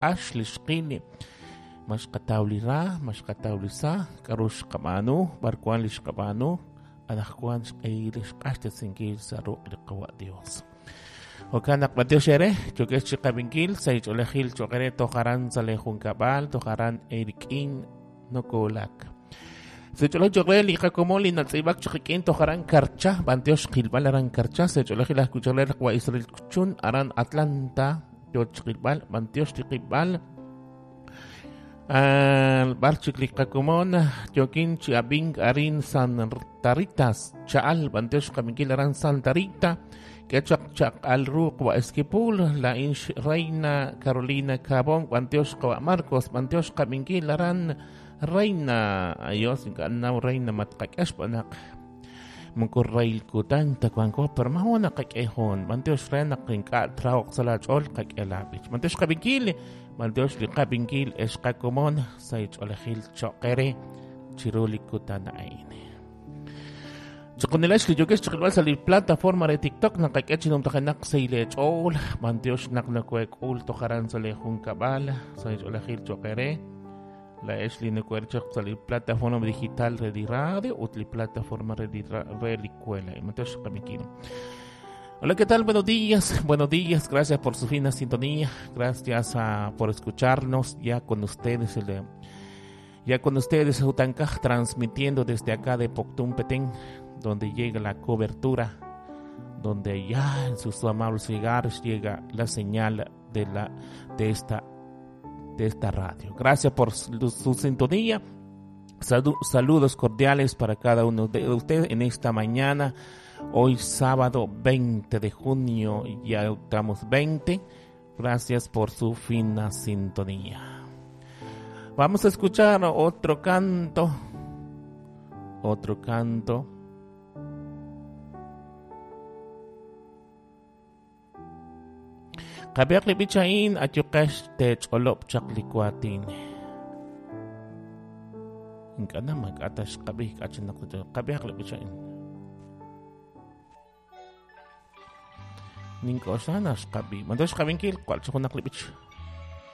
K'ax li xqil, ma xqataw li ra, ma xqataw li sa, k'aru xqab'aanu, b'ar wank li xqab'aanu, anaqwan xq'ehil li xq'axtesinkil sa' ruq' li Qawa' Dios. Jo'kan naq b'antiox eere, yookex chi qab'inkil sa' ch'oolejil cho'q eere toj aran sa' lee junkab'al, toj aran eerik'in nokoolak. Sa' ch'oolej cho'q re li qakomon li natz'iib'ak chaq qik'in toj aran Karcha, b'antiox qilb'al aran Karcha, sa' ch'oolejil ajwi' cho'q re li Qawa' Israel Chun aran Atlanta, yo chiqilb'al, b'antiox li qilb'al. B'ar chik li qakomon yookin chi ab'ink arin Santa Rita, cha'al b'antiox qab'inkil aran Santa Rita. K'e chaq chaq'al ru Qawa' Esquipul, laa'in Reina Carolina Cabón, b'antiox Qawa' Marcos, b'antiox qab'inkil aran Reina. Ayos, ink'a' naw Reina matqak'e xb'aan naq moko rahil kutan ta wanko, pero maajun naqak'e hoon. B'antiox re naq ink'a' trahoq sa' laach'ool qak'e laab'ich. B'antiox qab'inkil, b'antiox li qab'inkil ex qakomon sa' ch'oolejil cho'q eere chiru li kutan a'in. Chiqunilex li yookex chiqilb'al sa' li plataforma re TikTok naqak'e chi numtajenaq sa' leech'ool. B'antiox naq nokoheek'ul toj aran sa' lee junkab'al sa' ch'oolejil cho'q eere. Laa'ex li nokohe'el chaq sa' li plataforma digital re li radio ut li plataforma re li re li escuela. B'antiox qab'inkil. Hola, ¿qué tal? Buenos días, buenos días. Gracias por su fina sintonía. Gracias por escucharnos ya con ustedes. Ya con ustedes, Utankaj, transmitiendo desde acá de Poptún, Petén, donde llega la cobertura, donde ya en sus amables hogares llega la señal de, la, de esta radio. Gracias por su sintonía. Saludos cordiales para cada uno de ustedes en esta mañana. Hoy sábado 20 de junio, ya estamos 20. Gracias por su fina sintonía. Vamos a escuchar otro canto. Otro canto. Qab'ihaq li b'ich a'in ayuqex teech'olob' chaq li waatin. Ink'a' na maak'a' ta xqab'i k'a' chi naq qab'ihaq li b'ich a'in. Nink'oxla naq xqab'i. Mando xqab'inkil jwal chi junaq li b'ich.